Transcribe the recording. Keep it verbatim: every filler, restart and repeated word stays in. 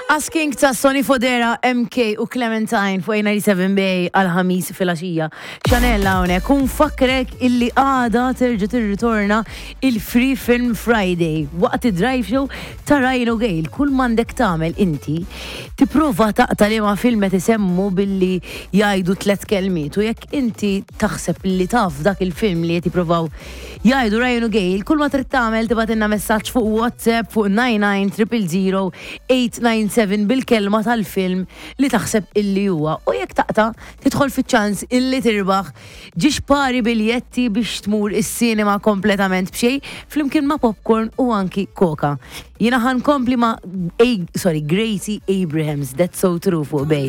Asking ta' Sonny Fodera, M K u Clementine fuq ninety-seven Bay għal-Ħamis filgħaxija. Chanel hawnhekk, u nfakkrek illi għada terġa' tirritorna il-Free Film Friday waqt id-drive show ta' Ryan u Gail. Kull m'għandek tagħmel inti tipprova taqta' liema film qed isemmu billi jgħidu tlet kelmiet, u jekk inti taħseb li taf dak il-film li qed jippruvaw jgħidu Ryan u Gail, kull ma trid tagħmel tibgħatilna messaġġ fuq WhatsApp fuq nine nine triple zero eight nine seven bil-kelma tal-film li taħseb illi huwa. U jekk taqta', tidħol fiċ-ċans illi tirbaħ żewġ pari biljetti biex tmur is-sinema kompletament b'xejn flimkien ma' popcorn u anki Coca. Jiena ħa nkompli ma' A, sorry, Gracie Abrams, "That's So True" fuq Bay.